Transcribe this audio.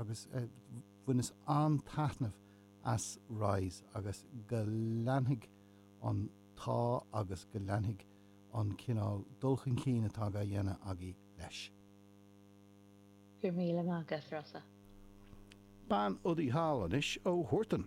agus bhaineas an-taitneamh as Rise agus go leanfaidh an t-ádh agus go leanfaidh an cineál dul chun cinn atá á dhéanamh agaibh leis. Go raibh míle maith agat, Rossa. Bean udaí thall anois ó Huartan.